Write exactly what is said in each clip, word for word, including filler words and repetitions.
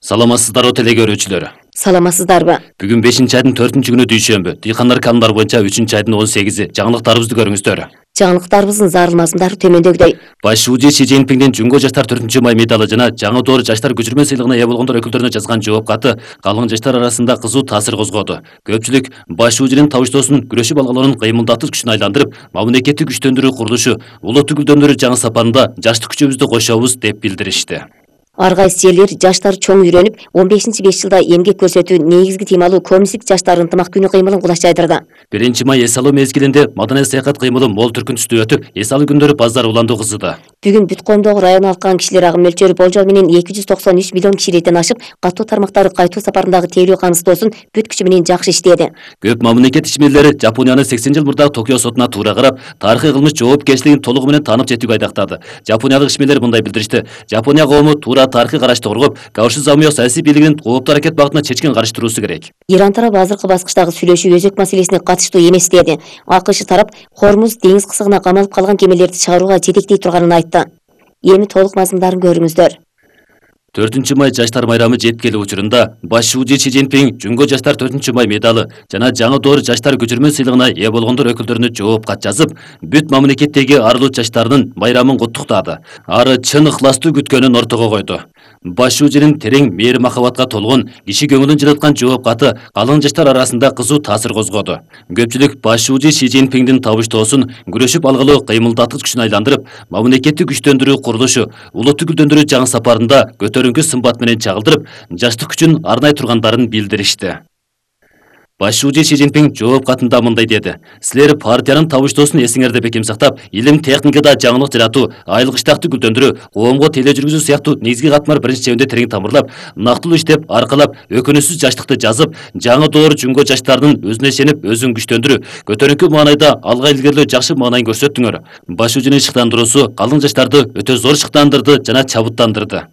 Саламатсыздарбы теле көрүүчүлөр. Саламатсыздарбы? Бүгүн бешинчи айдын төртүнчү күнү дүйшөмбү. Дыйкандар канундар боюнча үчүнчү айдын он сегизи. Жаңылыктарыбызды көрүңүздөр. Жаңылыктарыбыздын зарыл мазмундары төмөндөгүдөй. Баш шуужи Си Цзиньпиндин Жумго жаштар төртүнчү май медалы жана жаңы доор жаштар көчүрмө сыйлыгына ээ болгондор өкүлдөрүнө жазган жооп каты калың жаштар арасында кызуу таасир козгоду. Көпчүлүк баш шуужинин табыштоосун күрөшүп алгалоонун кыймылдатып күчүн айландырып, мамлекетти күчтөндүрүү курулушу, улуттук гүлдөндүрүү жаңы сапарында жаштык күчүбүздү кошобуз деп билдиришти. Ар кайсы жерлер жаштар чоң үйрөнүп, он бешинчи беш жылда эмгек көрсөтүү негизги темалуу коммунисттик жаштар ынтымак күнү кыймылын кулаш жайдырды. биринчи май эс алуу мезгилинде маданий саякат кыймылы мол түркүн түстө өтүп, эс алуу күндөрү базар уландуу кызыды. Бүгүн бүт коомдогу район алкан кишилер агым мөлчөрү болжол менен эки жүз токсон үч миллион кишилерден ашып, катуу тармактары кайтуу сапарындагы тейлүү камсыздоосун бүт күчү менен жакшы иштеди. Көп мамлекет ишмерлери Жапонияны сексен жыл мурдагы Токио сотуна туура карап, тарыхый кылмыш жоопкерчилигин толугу менен таанып жетүүгө айдактады. Жапониялык ишмерлер мындай билдиришти: Жапония коому туура тарыхый карашты коргоп, Каоши Замио саясий бийлигинин кооптуу аракет багытына чечкен каршы туруусу керек. Иран тарабы азыркы баскычтагы сүйлөшүү өзөк маселесине катыштуу эмес деди. АКШ тарап Хормуз деңиз кысыгына камалып калган кемелерди чыгарууга жетектей турганын айтты. Эми толук мазмундарын көрүңүздөр. төртүнчү май жаштар майрамы жеткели учурунда баш шуужи Си Цзиньпин Жумго жаштар төртүнчү май медалы жана жаңы доор жаштар көчүрмө сыйлыгына ээ болгондор өкүлдөрүнө жооп кат жазып, бүт мамлекеттеги арлуу жаштардын майрамын куттуктады. Ары чын ыхластуу күткөнүн ортого койду. Баш шуужинин терең мээри махабатка толгон, киши көңүлүн жылыткан жооп каты калың жаштар арасында кызуу таасир козгоду. Көпчүлүк баш шуужи Си Цзиньпиндин табыштоосун күрөшүп алгалуу кыймылдатып күчүн айландырып, мамлекетти күчтөндүрүү курулушу, улуттук гүлдөндүрүү жаңы сапарында көтөрүңкү сымбат менен чагылдырып, жаштык күчүн арнай тургандарын билдиришти. Баш шуужи Си Цзиньпин жооп катында мындай деди: Силер партиянын табыштоосун эсиңерде бекем сактап, илим техникада жаңылык жаратуу, айыл кыштакты гүлдөндүрүү, коомго теле жүргүзүү сыяктуу негизги катмар биринчи чебинде терең тамырлап, нактылуу иштеп, аркалап, өкүнүчсүз жаштыкты жазып, жаңы доор Жумго жаштарынын өзүнө ишенип, өзүн күчтөндүрүү, көтөрүңкү маанайда алга илгерилөө жакшы маанайын көрсөттүңөр. Баш шуужинин шыктандыруусу калың жаштарды өтө зор шыктандырды жана чабыттандырды.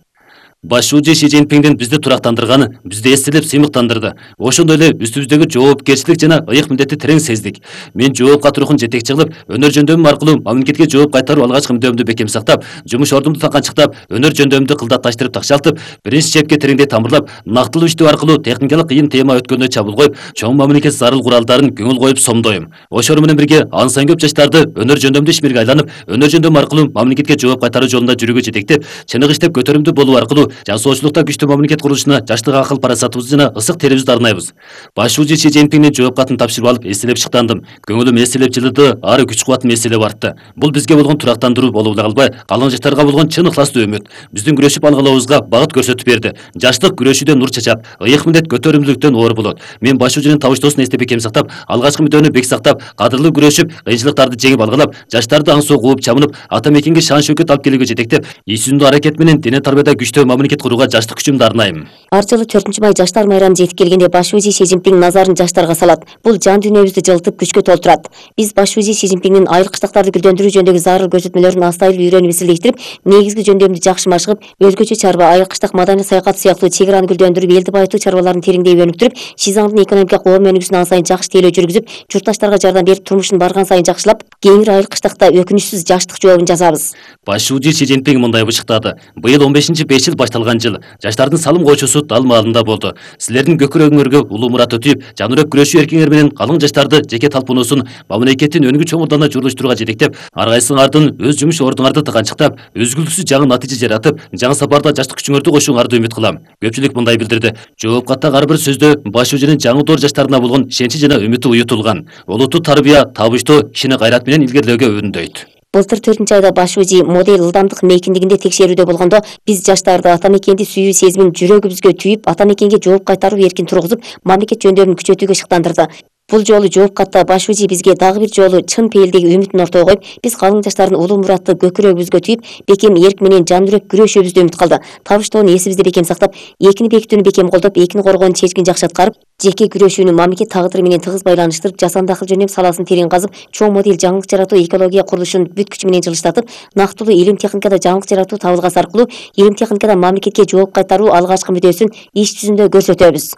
Баш шуужи Си Цзиньпиндин бизди турактандырганы, бизди эстелеп сыймыктандырды. Ошондой эле үстүбүздөгү жоопкерчилик жана ыйык милдетти терең сездик. Мен жооп кат рухун жетекчи кылып, өнөр жөндөмүм аркылуу мамлекетке жооп кайтаруу алгачкы мүддөмдү бекем сактап, жумуш ордумду таканчыктап, өнөр жөндөмүмдү кылдатташтырып такшалтып, биринчи чепке тереңдей тамырлап, нактылуу иштөө аркылуу техникалык кыйын тема өткөнүнө чабуул коюп, чоң мамлекет зарыл куралдарын көңүл коюп сомдойм. Ошол менен бирге ан сайын көп жаштарды өнөр жөндөмдүү ишмерге айланып, өнөр жөндөмү аркылуу мамлекетке жооп кайтаруу жолунда жүрүүгө жетектеп, чыныгы иштеп көтөрүмдүү болуу аркылуу жасоочулукта күчтүү мамлекет курулушуна жаштык акыл парасатыбызды жана ысык терибизди арнайбыз. Баш шуужи Си Цзиньпиндин жооп катын тапшырып алып, эселеп шыктандым. Көңүлүм эселеп жылыды, ары күч кубатым эселеп артты. Бул бизге болгон турактандыруу болуп эле калбай, калың жаштарга болгон чын ыхластуу үмүт, биздин күрөшүп алгалообузга багыт көрсөтүп берди. Жаштык күрөшүүдөн нур чачат, ыйык милдет көтөрүмдүүлүктөн оор болот. Мен баш шуужинин табыштоосун эстеп бекем сактап, алгачкы мүддөөнү бек сактап, кадырлуу күрөшүп, кыйынчылыктарды жеңип алгалап, жаштарды аңсоо кууп чамынып, ата мекенге шан шөкөт алып келүүгө жетектеп, иш жүзүндүү аракет менен дене тарбияда күчтүү мамлекет курууга жаштык күчүмдү арнайм. Ар жылы төртүнчү май жаштар майрамы жетип келгенде баш шуужи Си Цзиньпин назарын жаштарга салат. Бул жан дүйнөбүздү жылытып күчкө толтурат. Биз баш шуужи Си Цзиньпиндин айыл кыштактарды гүлдөндүрүү жөнүндөгү зарыл көрсөтмөлөрүн астайыл үйрөнүп изилдештирип, негизги жөндөмдү жакшы машыгып, өзгөчө чарба, айыл кыштак маданий саякат сыяктуу чек араны гүлдөндүрүп, элди байытуу чарбаларын тереңдей өнүктүрүп, Шизаңдын экономика коом өнүгүүсүн ан сайын жакшы тейлөө жүргүзүп, журтташтарга жардам берип, турмушун барган сайын жакшылап, кеңири айыл кыштакта өкүнүчсүз жаштык жообун жазабыз. Баш шуужи Си Цзиньпин мындай бышыктады: Быйыл он бешинчи беш жыл башталган жыл. Жаштардын салым койчусу дал маалында болду. Силердин көкүрөгүңөргө улуу мурат өтүп, жанырөк күрөшүү эркиңер менен калың жаштарды жеке талпынуусун мамлекеттин өнүгүү чоңурдана журулуштурууга жетектеп, ар кайсыңардын өз жумуш ордуңарды тыканчыктап, үзгүлтүксүз жаңы натыйжа жаратып, жаңы сапарда жаштык күчүңөрдү кошууңарды үмүт кылам. Көпчүлүк мындай билдирди: жооп каттагы ар бир сөздө баш шуужинин жаңы доор жаштарына болгон ишеничи жана үмүтү уютулган. Олуттуу тарбия, табыштоо кишини кайрат менен илгерилөөгө үндөйт. Былтыр төртүнчү айда баш шуужи модель ылдамдык мейкиндигинде текшерүүдө болгондо, биз жаштарды ата мекенди сүйүү сезимин жүрөгүбүзгө түйүп, ата мекенге жооп кайтаруу эркин тургузуп, мамлекет жөндөмүн күчөтүүгө шыктандырды. Бул жолу жооп катта баш шуужи бизге дагы бир жолу чын пейилдеги үмүтүн ортого коюп, биз калың жаштардын улуу муратты көкүрөгүбүзгө түйүп, бекем эрк менен жан жүрөк күрөшүүбүздү үмүт кылды. Табыштоону эсибизде бекем сактап, экини бекитүүнү бекем колдоп, экини коргоонун чечкин жакшы аткарып, жеке күрөшүүнү мамлекет тагдыры менен тыгыз байланыштырып, жасанды акыл жөндөм саласын терең казып, чоң модель жаңылык жаратуу экология курулушун бүт күчү менен жылыштатып, нактылуу илим техникада жаңылык жаратуу табылгасы аркылуу илим техникада мамлекетке жооп кайтаруу алгачкы мүдөөсүн иш жүзүндө көрсөтөбүз.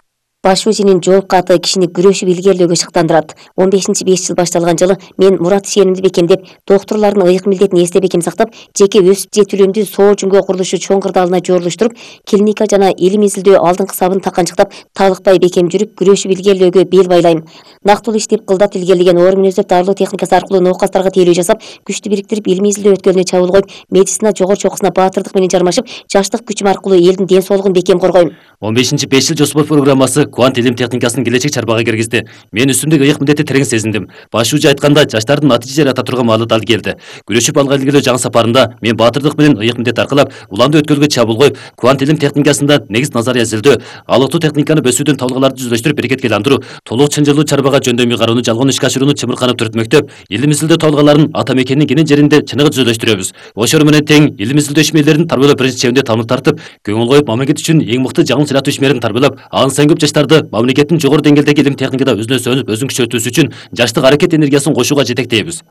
Баш УЗИнин жооп каты кишини күрөшүп илгерилөөгө шыктандырат. он бешинчи беш жыл башталган жылы мен мурат ишенимди бекемдеп, доктурлардын ыйык милдетин эсте бекем сактап, жеке өсүп жетилүүмдү соо жүнгө курулушу чоң кырдаалына жорулуштуруп, клиника жана илим изилдөө алдыңкы сабын таканчыктап, талыкпай бекем жүрүп, күрөшүп илгерилөөгө бел байлайм. Нактылуу иштеп кылдат илгерилеген оор мүнөздөр дарылоо техникасы аркылуу науказдарга тейлөө жасап, күчтү бириктирип, илим изилдөө өткөлүнө чабуул коюп, медицина жогору чокусуна баатырдык менен жармашып, жаштык күчүм аркылуу элдин ден соолугун бекем коргойм. он бешинчи беш жыл жоспор программасы квант илим техникасын келечек чарбага киргизди. Мен үстүмдөгү ыйык милдетти терең сезиндим. Баш УЗИ айтканда жаштардын натыйжа жарата турган маалы дал келди. Күрөшүп алга илгерилөө жаңы сапарында мен баатырдык менен ыйык милдет аркылап, уламдуу өткөлгө чабуул коюп, квант илим техникасында негиз назария изилдөө, алыктуу техниканы бөсүүдөн табылгаларды жүздөштүрүп берекетке айландыруу, толук чынжырлуу чарбага жөндөмүй кароону жалгон ишке ашырууну чымырканып түрөтмөктөп, илим изилдөө табылгаларын ата мекендин кенен жеринде чыныгы түзөлөштүрөбүз. Ошол менен тең илим изилдөө ишмерлерин тарбиялоо биринчи чебинде тамыр тартып, көңүл коюп, мамлекет үчүн эң мыкты жаңы сыйратуу ишмерин тарбиялап, ан сайын көп жаштарды мамлекеттин жогору деңгээлдеги илим техникада өзүнө сөнүп, өзүн күчөтүүсү үчүн жаштык аракет энергиясын кошууга жетектейбиз.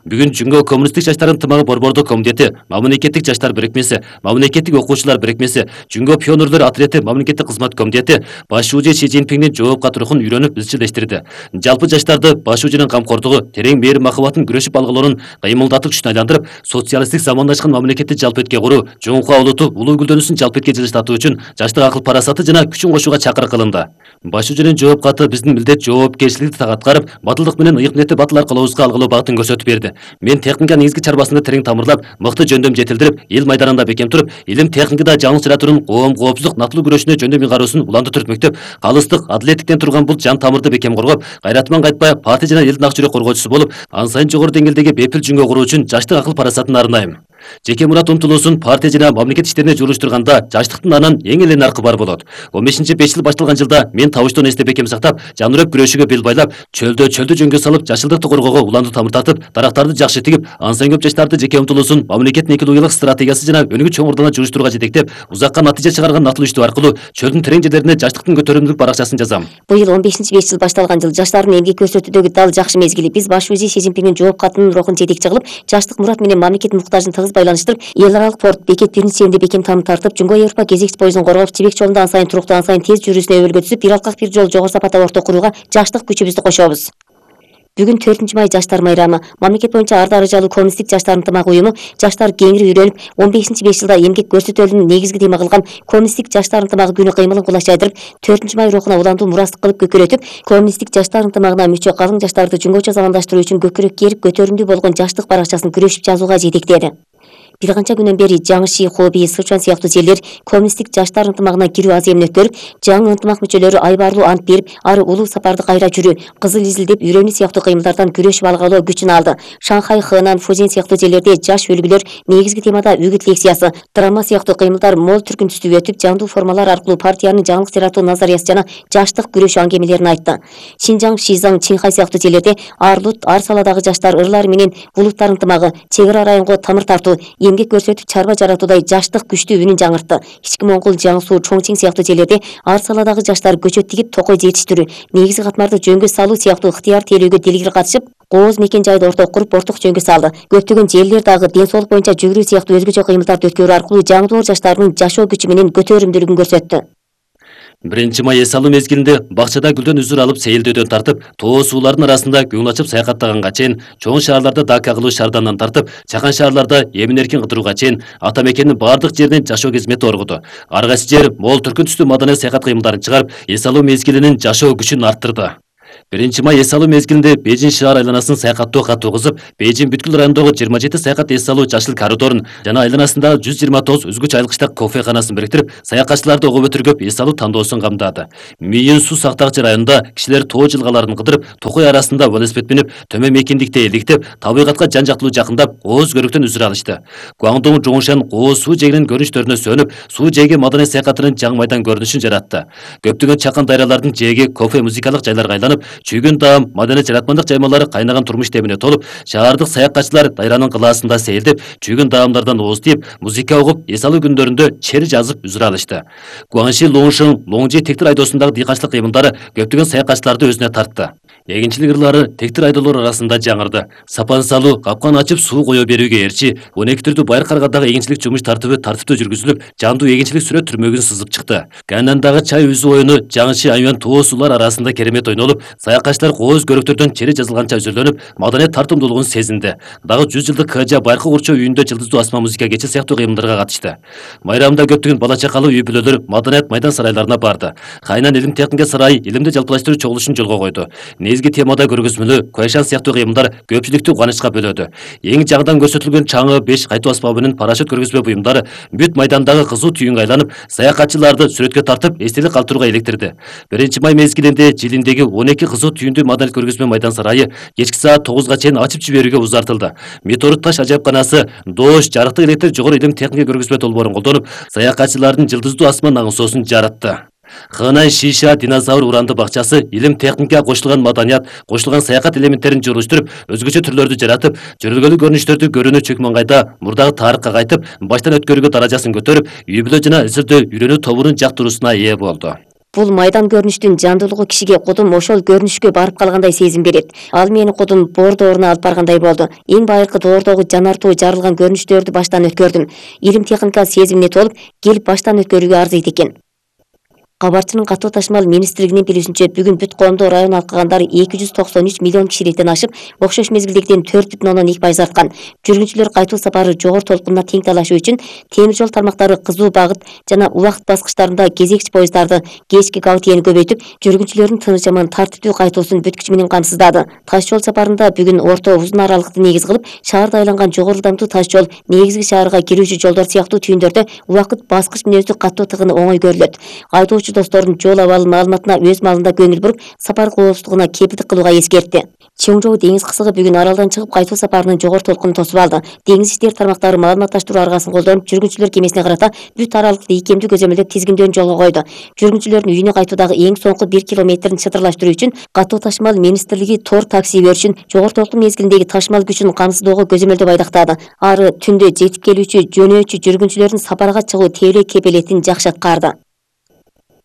Бүгүн Жүнгө коммунисттик жаштардын ынтымагы борбордук комитети, мамлекеттик жаштар бирикмеси, мамлекеттик окуучулар бирикмеси, Жүнгө пионерлор отрети, мамлекеттик кызмат комитети Баш УЗИ Си Цзиньпиндин жооп каты рухун үйрөнүп изчилдештирди. Жалпы жаштарды Баш УЗИнин камкордугу, терең мээрим махабатын күрөшүп алгалоонун кыймылдатуу күчүнө айландырып, социалисттик замандашкан мамлекетти жалпетке куруу, жоңкуа улуту улуу гүлдөнүүсүн жалпетке жылыштатуу үчүн жаштык акыл парасаты жана күчүн кошууга чакырык кылынды. Баш УЗИнин жооп каты биздин милдет жоопкерчиликти так аткарып, батылдык менен ыйык милдетти батыл аркалообузга алгылоо багытын көрсөтүп берди. Мен техника негизги чарбасында терең тамырлап, мыкты жөндөм жетилдирип, эл майданында бекем туруп, илим техникада жаңы сыйратуунун коом коопсуздук натылуу күрөшүнө жөндөмүй кароосун уланды түрөтмөктөп, калыстык, адилеттиктен турган бул жан тамырды бекем коргоп, кайратман кайтпай партия жана элдин ак жүрөк коргоочусу болуп, ан сайын жогору деңгээлдеги бепил Жүнгө куруу үчүн жаштык акыл парасатын арнайм. Жеке мурат умтулуусун партия жана мамлекет иштерине жолуштурганда жаштыктын анан эң эле наркы бар болот. он бешинчи беш жыл башталган жылда мен табыштон эсте бекем сактап, жанырөп күрөшүүгө бел байлап, чөлдө чөлдү жөнгө салып, жашылдыкты коргоого уланды тамыр тартып, дарактарды жакшы тигип, ан сайын көп жаштарды жеке умтулуусун мамлекеттин экологиялык стратегиясы жана өнүгүү чоң ордуна журуштурууга жетектеп, узакка натыйжа чыгарган натылуу иштөө аркылуу чөлдүн терең жерлерине жаштыктын көтөрүмдүүлүк баракчасын жазам. Быйыл он бешинчи беш жыл башталган жыл жаштардын эмгек көрсөтүүдөгү дал жакшы мезгили. Биз Баш УЗИ Си Цзиньпиндин жооп катынын рухун жетекчи кылып, жаштык мурат менен мамлекет муктажын тыгыз байланыштырып, эл аралык порт бекет биринчи чебинде бекем тамыр тартып, Жүнгө Европа кезекчи поездун коргоп, Жибек жолунда ан сайын туруктуу, ан сайын тез жүрүүсүнө өбөлгө түзүп, бир алкак бир жол жогору сапаттагы орто курууга жаштык күчүбүздү кошобуз. Бүгүн төртүнчү май жаштар майрамы. Мамлекет боюнча ар даражалуу коммунисттик жаштар ынтымагы уюму жаштар кеңири үйрөнүп, он бешинчи беш жылда эмгек көрсөтөлүүнүн негизги тема кылган коммунисттик жаштар ынтымагы күнү кыймылын кулаш жайдырып, төртүнчү май рухуна уландуу мурастык кылып көкөрөтүп, коммунисттик жаштар ынтымагына мүчө калың жаштарды Жүнгөчө замандаштыруу үчүн көкүрөк керип, көтөрүмдүү болгон жаштык баракчасын күрөшүп жазууга жетектеди. Бир канча күнөн бери Жаңыши, Хоби, Сычуан сыяктуу жерлер коммунисттик жаштар ынтымагына кирүү аз эмне өткөрүп, жаңы ынтымак мүчөлөрү айбарлуу ант берип, ары улуу сапарды кайра жүрүү, кызыл изилдеп, үйрөнүү сыяктуу кыймылдардан күрөшүп алгалоо күчүн алды. Шанхай, Хэнан, Фузен сыяктуу жерлерде жаш үлгүлөр негизги темада үгүт лекциясы, драма сыяктуу кыймылдар мол түркүн түстүү өтүп, жандуу формалар аркылуу партиянын жаңылык сыйратуу назариясы жана жаштык күрөшүү аңгемелерин айтты. Шинжаң, Шизаң, Чинхай сыяктуу жерлерде Арлут, ар саладагы жаштар ырлар менен булуттар ынтымагы, чек ара районго тамыр тартуу, эмгек көрсөтүп чарба жаратуудай жаштык күчтүү үнүн жаңыртты. Ички Моңгол, Жаң Суу, Чоңчиң сыяктуу жерлерде ар саладагы жаштар көчөт тигип, токой жетиштирүү, негизги катмарды жөнгө салуу сыяктуу ыктыяр тейлөөгө делгир катышып, кооз мекен жайды ортого куруп, орток жөнгө салды. Көптөгөн жерлер дагы ден соолук боюнча жүгүрүү сыяктуу өзгөчө кыймылдарды өткөрүү аркылуу жаңдоор жаштардын жашоо күчү менен көтөрүмдүүлүгүн көрсөттү. биринчи май эс алуу мезгилинде бакчада гүлдөн үзүр алып, сейилдөөдөн тартып, тоо суулардын арасында көңүл ачып саякаттаганга чейин, чоң шаарларда дака кылуу шаардандан тартып, чакан шаарларда эмин-эркин кыдырууга чейин ата мекендин бардык жеринен жашоо кызмети оргуду. Ар кайсы жер мол түркүн түстүү маданий саякат кыймылдарын чыгарып, эс алуу мезгилинин жашоо күчүн арттырды. биринчи май эс алуу мезгилинде Бейжин шаар айланасын саякаттоо катуу кызып, Бейжин бүткүл райондогу жыйырма жети саякат эс алуу жашыл коридорун жана айланасындагы жүз жыйырма тогуз үзгүч айылкычтак кофеканасын бириктирип, саякатчыларды огоп өтүргөп эс алуу тандоосун камдады. Мийин суу сактагычы районунда кишилер тоо жылгаларын кыдырып, токой арасында велосипед минип, төмөн мекендикте эликтеп, табигатка жан жактылуу жакындап, кооз көрүктөн үзүр алышты. Гуаңдоң Жоңшан кооз суу жээгинин көрүнүштөрүнө сөнүп, суу жээги маданий саякатынын жаңы майдан көрүнүшүн жаратты. Көптөгөн чакан дайралардын жээги кофе музыкалык жайларга айланып, чүйгүн таам, маданий жаратмандык жаймалары кайнаган турмуш демине толуп, шаардык саякатчылар Дайранын кылаасында сейилдеп, чүйгүн таамдардан ооз тийип, музыка угуп, эс алуу күндөрүндө чер жазып үзүр алышты. Гуанши, Лоңшин, Лоңжи тектир айдоосундагы дыйканчылык кыймылдары көптөгөн саякатчыларды өзүнө тартты. Эгинчилик ырлары тектир айдоолор арасында жаңырды. Сапан салуу, капкан ачып суу кое берүүгө эрчи, он эки түрдүү байыр каргадагы эгинчилик жумуш тартыбы тартиптүү жүргүзүлүп, жандуу эгинчилик сүрөт түрмөгүн сызып чыкты. Канандагы чай үзүү оюну жаңычы айван тоо суулар арасында керемет ойнолуп, саякатчылар кооз көрөктөрдөн чери жазылганча өзүрлөнүп, маданият тартымдуулугун сезинди. Дагы жүз жылдык Кыжа байыркы курчоо үйүндө жылдыздуу асма музыка кечи сыяктуу кыймылдарга катышты. Майрамда көптөгөн бала чакалуу үй бүлөлөр маданият майдан сарайларына барды. Кайнан илим техника сарайы илимди жалпылаштыруу чогулушун жолго койду. Негизги темада көргөзмөлүү Куайшан сыяктуу кыймылдар көпчүлүктү кубанычка бөлөдү. Эң жагдан көрсөтүлгөн чаңы, беш кайтуу асбабы менен парашют көргөзмө буюмдары бүт майдандагы кызуу түйүнгө айланып, саякатчыларды сүрөткө тартып, эстелик калтырууга электирди. биринчи май мезгилинде жилиндеги он эки кызуу түйүндүү маданият көргөзмө майдан сарайы кечки саат тогузга чейин ачып жиберүүгө узартылды. Метеорит таш ажайыпканасы, доош, жарыктык электр жогору илим техника көргөзмө долбоорун колдонуп, саякатчылардын жылдыздуу асма наңсоосун жаратты. Хынай Шиша динозавр уранды бакчасы илим техника кошулган маданият, кошулган саякат элементтерин журуштуруп, өзгөчө түрлөрдү жаратып, жөрөлгөлүү көрүнүштөрдү көрүүнү чөк маңгайда мурдагы тарыхка кайтып, баштан өткөрүүгө даражасын көтөрүп, үй бүлө жана изилдөө үйрөнүү тобунун жактыруусуна ээ болду. Бул майдан көрүнүштүн жандуулугу кишиге кудум ошол көрүнүшкө барып калгандай сезим берет. Ал мени кудум боор дооруна алып баргандай болду. Эң байыркы доордогу жанартуу жарылган көрүнүштөрдү баштан өткөрдүм. Илим техника сезимине толуп, келип баштан өткөрүүгө арзыйт экен. Кабарчынын катуу ташмал министрлигинин билүүсүнчө, бүгүн бүт коомдо район алкагандары эки жүз токсон үч миллион кишиликтен ашып, окшош мезгилдегиден төрт бүтүн ондон эки пайыз арткан. Жүргүнчүлөр кайтуу сапары жогору толкунуна тең талашуу үчүн темир жол тармактары кызуу багыт жана убакыт баскычтарында кезекчи поездарды, кечки габытияны көбөйтүп, жүргүнчүлөрдүн тыныч аман тартиптүү кайтуусун бүт күчү менен камсыздады. Таш жол сапарында бүгүн орто узун аралыкты негиз кылып, шаарда айланган жогору ылдамдуу таш жол, негизги шаарга кирүүчү жолдор сыяктуу түйүндөрдө убакыт баскыч мүнөздүү каттоо тыгыны оңой көрүлөт. Айдоочу достордун жол абалы маалыматына өз маалында көңүл буруп, сапар коопсуздугуна кепилдик кылууга эскертти. Чоңжоо деңиз кысыгы бүгүн аралдан чыгып кайтуу сапарынын жогору толкунун тосуп алды. Деңиз иштери тармактары маалыматташтыруу аргасын колдонуп, жүргүнчүлөр кемесине карата бүт аралыкты ийкемдүү көзөмөлдөп тизгиндөөдү жолго койду. Жүргүнчүлөрдүн үйүнө кайтуудагы эң соңку бир километрин чытырлаштыруу үчүн катуу ташмал министрлиги тор такси беришин, жогору толкун мезгилиндеги ташмал күчүн камсыздоого көзөмөлдөп айдактады. Ары түндө жетип келүүчү, жөнөөчү жүргүнчүлөрдүн сапарга чыгуу тейлөө кепелетин жакшы аткарды.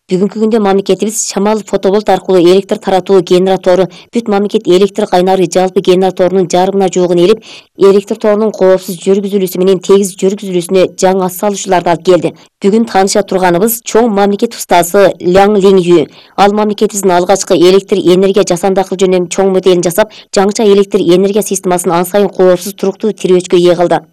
Бүгүнкү күндө мамлекетибиз шамал фотоболт аркылуу электр таратуу генератору, бүт мамлекет электр кайнары жалпы генераторунун жарымына жуугун элип, электр торунун коопсуз жүргүзүлүүсү менен тегиз жүргүзүлүүсүнө жаңы ат салуучуларды алып келди. Бүгүн тааныша турганыбыз чоң мамлекет устазы Ляң Лиңю. Ал мамлекетибиздин алгачкы электр энергия жасанды акыл жөнүндө чоң моделин жасап, жаңыча электр энергия системасын ан сайын коопсуз туруктуу тирөөчкө ээ кылды.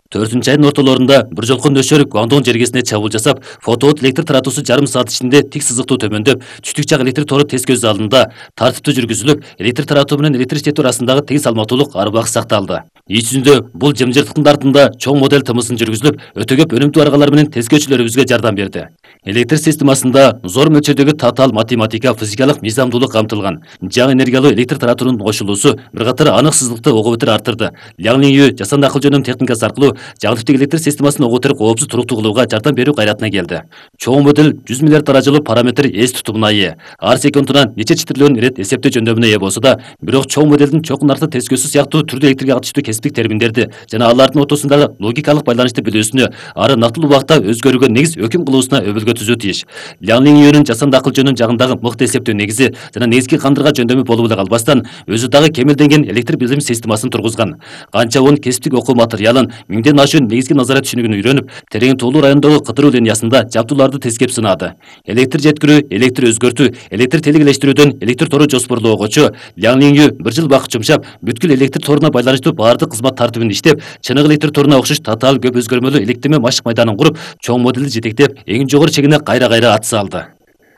төртүнчү айдын ортолорунда бир жолку нөшөр Гуандон жергесине чабуул жасап, фотоот электр таратуусу жарым саат ичинде тик сызыктуу төмөндөп, түштүк жак электр тору тез көз алдында тартиптүү жүргүзүлүп, электр таратуу менен электр иштетүү арасындагы тең салмактуулук ары бак сакталды. Ич жүзүндө бул жымжырттыктын артында чоң модель тымысын жүргүзүлүп, өтө көп өнүмдүү аргалар менен тескөөчүлөрүбүзгө жардам берди. Электр системасында зор мөлчөрдөгү татаал математика, физикалык мыйзамдуулук камтылган. Жаңы энергиялуу электр таратуунун кошулуусу бир катар анык сызыктыкты ого бетер арттырды. Ляң Лиңю жасанды акыл жөнүнүн техникасы аркылуу жаңы типтеги электр системасын ого бетер коопсуз туруктуу кылууга жардам берүү кайратына келди. Чоң модель жүз миллиард даражалуу параметр эс тутумуна ээ. Ар секундунан нече читтирилген ирет эсептөө жөндөмүнө ээ болсо да, бирок чоң модельдин чокун арты тескөөсү сыяктуу түрдүү электрике катыштуу кесиптик терминдерди жана алардын ортосундагы логикалык байланышты билүүсүнө, ары нактылуу убакта өзгөрүүгө негиз өкүм кылуусуна өбөлгө түзүү тийиш. Ляң Лиңюнун жасанды акыл жөнүнүн жагындагы мыкты эсептөө негизи жана негизги кандырга жөндөмү болуп эле калбастан, өзү дагы кемелденген электр билим системасын тургузган. Канча он кесиптик окуу материалын, миңден ашуун негизги назарат түшүнүгүн үйрөнүп, терең тоолуу райондогу кыдыруу линиясында жабдууларды тескеп сынады. Электр жеткирүү, электр өзгөртүү, электр телегелештирүүдөн электр тору жоспорлоогочу Ляң Лиңю бир жыл убакыт жумшап, бүткүл электр торуна байланыштуу баардык кызмат тартибин иштеп, чыныгы электр торуна окшош татаал көп өзгөрмөлүү электирме машык майданын куруп, чоң модельди жетектеп, эң жогору чегине кайра-кайра ат салды.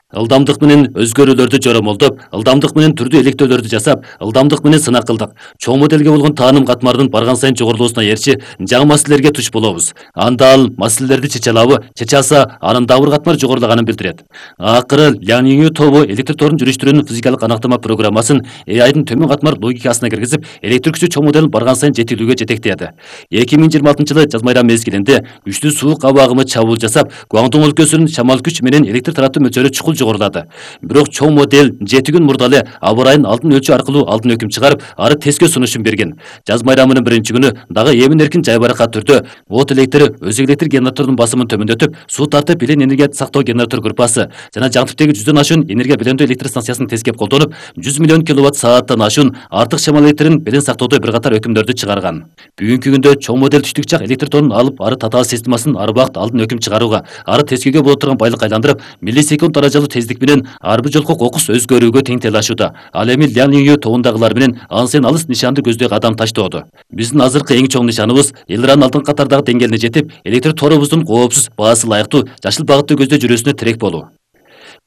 Ылдамдык менен өзгөрүүлөрдү жоромолдоп, ылдамдык менен түрдүү электөөлөрдү жасап, ылдамдык менен сынак кылдык. Чоң моделге болгон тааным катмарынын барган сайын жогорулуусуна ээрчи жаңы маселелерге туш болобуз. Анда ал маселелерди чече алабы, чече алса, анын дагы бир катмар жогорулаганын билдирет. Акыры Ляң Лиңю тобу электр торун жүрүштүрүүнүн физикалык анактама программасын э айдын төмөн катмар логикасына киргизип, электр күчү чоң моделин барган сайын жетилүүгө жетектеди. эки миң жыйырма алтынчы жылы жаз майрам мезгилинде күчтүү суук аба агымы чабуул жасап, Гуандон өлкөсүнүн шамал күч менен электр таратуу мөлчөрү чукул жогорулады. Бирок чоң модель жети күн мурда эле аба ырайын алдын өлчөө аркылуу алдын өкүм чыгарып, ары тескөө сунушун берген. Жаз майрамынын биринчи күнү дагы эмин эркин жайбаракат түрдө от электр, өзөк электр генератордун басымын төмөндөтүп, суу тартып билен энергия сактоо генератор группасы жана жаңтыптеги жүздөн ашуун энергия белемдөө электр станциясын тескеп колдонуп, жүз миллион киловатт сааттан ашуун артык шамал электрин белең сактоодо бир катар өкүмдөрдү чыгарган. Бүгүнкү күндө чоң модель түштүк жак электр тонун алып, ары татаал системасын ар убакыт алдын өкүм чыгарууга, ары тескөөгө боло турган байлык айландырып, миллисекунд даражалуу тездик менен ар бир жолку кокус өзгөрүүгө тең тыйлашууда. Ал эми Лянью тобундагылар менен ансен алыс нишанды көздөй кадам таштоодо. Биздин азыркы эң чоң нишаныбыз эл ыраанын алдыңкы катардагы деңгээлине жетип, электр торубуздун коопсуз, баасы ылайыктуу, жашыл багытты көздөй жүрүүсүнө тирек болуу.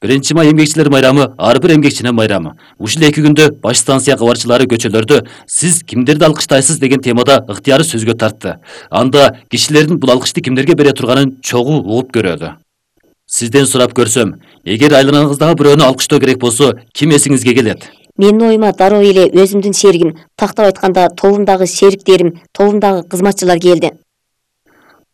биринчи май эмгекчилер майрамы ар бир эмгекчинин майрамы. Ушул эки күндө баш станция кабарчылары көчөлөрдө "Сиз кимдерди алкыштайсыз?" деген темада ыктыяры сөзгө тартты. Анда кишилердин бул алкышты кимдерге бере турганын чогуу угуп көрөдү. Сизден сурап көрсөм, эгер айланаңыздагы бирөөнү алкыштоо керек болсо, ким эсиңизге келет? Менин оюма дароо эле өзүмдүн шеригим, тактап айтканда тобумдагы шериктерим, тобумдагы кызматчылар келди.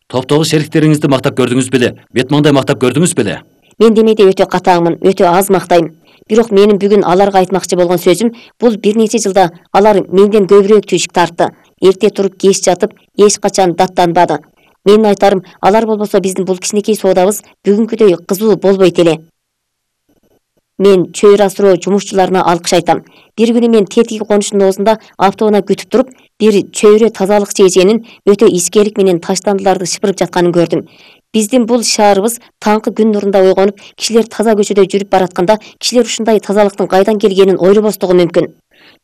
Топтогу шериктериңизди мактап көрдүңүз беле? Бет маңдай мактап көрдүңүз беле? Мен демейде өтө катааңмын, өтө аз мактайм. Бирок менин бүгүн аларга айтмакчы болгон сөзүм, бул бир нече жылда алар менден көбүрөөк түйшүк тартты. Эрте туруп кеч жатып, эч качан даттанбады. Менин айтарым, алар болбосо биздин бул кичинекей соодабыз бүгүнкүдөй кызуу болбойт эле. Мен чөйрө асыроо жумушчуларына алкыш айтам. Бир күнү мен тетиги конуштун оозунда автоунаа күтүп туруп, бир чөйрө тазалыкчы эженин өтө ичкелик менен таштандыларды шыпырып жатканын көрдүм. Биздин бул шаарыбыз таңкы күн нурунда ойгонуп, кишилер таза көчөдө жүрүп баратканда, кишилер ушундай тазалыктын кайдан келгенин ойлобостугу мүмкүн.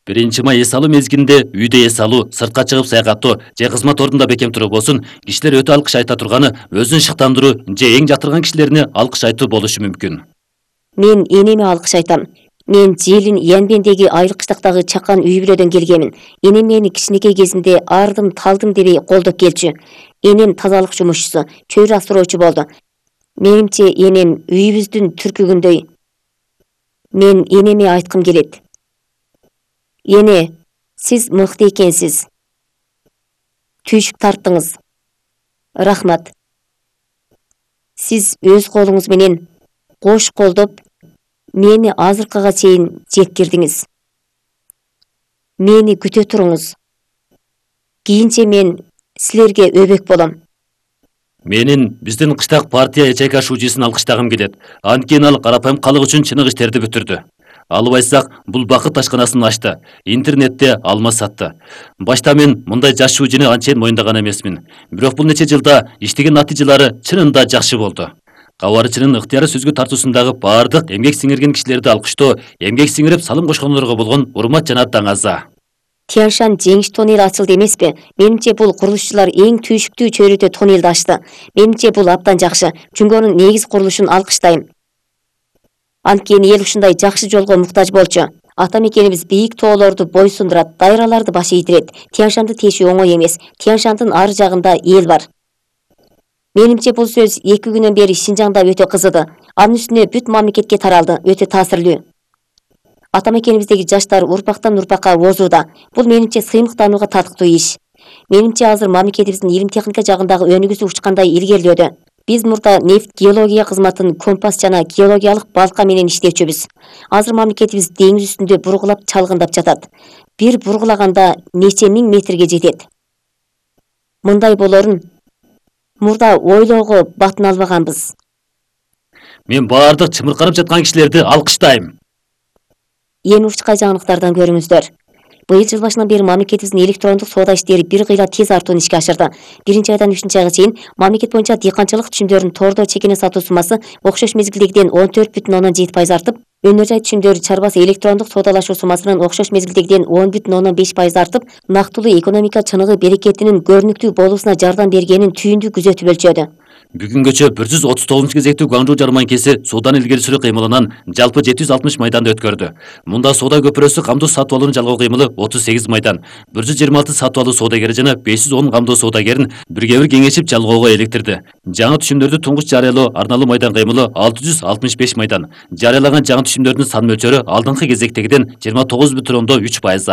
биринчи май эс алуу мезгилинде үйдө эс алуу, сыртка чыгып саякаттоо же кызмат ордунда бекем туруп болсун, кишилер өтө алкыш айта турганы өзүн шыктандыруу же эң жатырган кишилерине алкыш айтуу болушу мүмкүн. Мен энеме алкыш айтам. Мен Желин Янбендеги айыл кыштактагы чакан үй бүлөдөн келгемин. Энем мени кичинекей кезимде ардым талдым дебей колдоп келчү. Энем тазалык жумушчусу, чөйрө асыроочу болду. Менимче энем үйүбүздүн түркүгүндөй. Мен энеме айткым келет. Эне, сиз мыкты экенсиз. Түйшүк тарттыңыз. Рахмат. Сиз өз колуңуз менен кош колдоп, мени азыркыга чейин жеткирдиңиз. Мени күтө туруңуз. Кийинче мен силерге өбөк болом. Менин биздин кыштак партия ячейка шуучусун алкыштагым келет. Анткени ал карапайым калык үчүн чыныгы иштерди бүтүрдү. Алып айтсак, бул бакыт ашканасын ачты. Интернетте алма сатты. Башта мен мындай жаш шуучуну анчейин моюндаган эмесмин. Бирок бул нече жылда иштеген натыйжалары чынында жакшы болду. Кабарчынын ыктыяры сөзгө тартуусундагы бардык эмгек сиңирген кишилерди алкыштоо, эмгек сиңирип салым кошкондорго болгон урмат жана таңаза. Тяншан жеңиш тоннели ачылды эмеспи? Менимче бул курулушчулар эң түйшүктүү чөйрөдө тоннелди ачты. Менимче бул абдан жакшы. Жүнгөнүн негиз курулушун алкыштайм. Анткени эл ушундай жакшы жолго муктаж болчу. Ата мекенибиз бийик тоолорду бойсундурат, дайраларды баш ийдирет. Тяншанды тешүү оңой эмес. Тяншандын ары жагында эл бар. Менимче бул сөз эки күнөн бери Шинжаңда өтө кызыды. Анын үстүнө бүт мамлекетке таралды, өтө таасирлүү. Ата мекенибиздеги жаштар урпактан урпакка озууда. Бул менимче сыймыктанууга татыктуу иш. Менимче азыр мамлекетибиздин илим техника жагындагы өнүгүүсү учкандай илгерилөөдө. Биз мурда нефт геология кызматын компас жана геологиялык балка менен иштечүбүз. Азыр мамлекетибиз деңиз үстүндө бургулап чалгындап жатат. Бир бургулаганда нече миң метрге жетет. Мындай болорун мурда ойлоого батын албаганбыз. Мен бардык чымырканып жаткан кишилерди алкыштайм. Эми учкай жаңылыктардан көрүңүздөр. Быйыл жыл башынан бери мамлекетибиздин электрондук соода иштери бир кыйла тез артууну ишке ашырды. Биринчи айдан үчүнчү айга чейин мамлекет боюнча дыйканчылык түшүмдөрүнүн тордо чекене сатуу суммасы окшош мезгилдегиден он төрт бүтүн ондон жети пайыз артып, өнөр жай түшүмдөр чарбасы электрондук соодалашуу суммасынын окшош мезгилдегиден он бүтүн ондон беш пайыз артып, нактылуу экономика чыныгы берекетинин көрүнүктүү болуусуна жардам бергенин түйүндүү күзөтүп өлчөдү. Бүгүнгөчө бир жүз отуз тогузунчу кезектүү Гуанчжоу жарманкеси соодан илгери сүрүү кыймылынан жалпы жети жүз алтымыш майданды өткөрдү. Мунда соода көпүрөсү камдоо сатып алууну жалгоо кыймылы отуз сегиз майдан, бир жүз жыйырма алты сатып алуу соодагери жана беш жүз он камдоо соодагерин бирге бир кеңешип жалгоого электирди. Жаңы түшүмдөрдү туңгуч жарыялоо арналуу майдан кыймылы алты жүз алтымыш беш майдан. Жарыялаган жаңы түшүмдөрдүн сан мөлчөрү алдыңкы кезектегиден жыйырма тогуз бүтүн ондон үч пайызга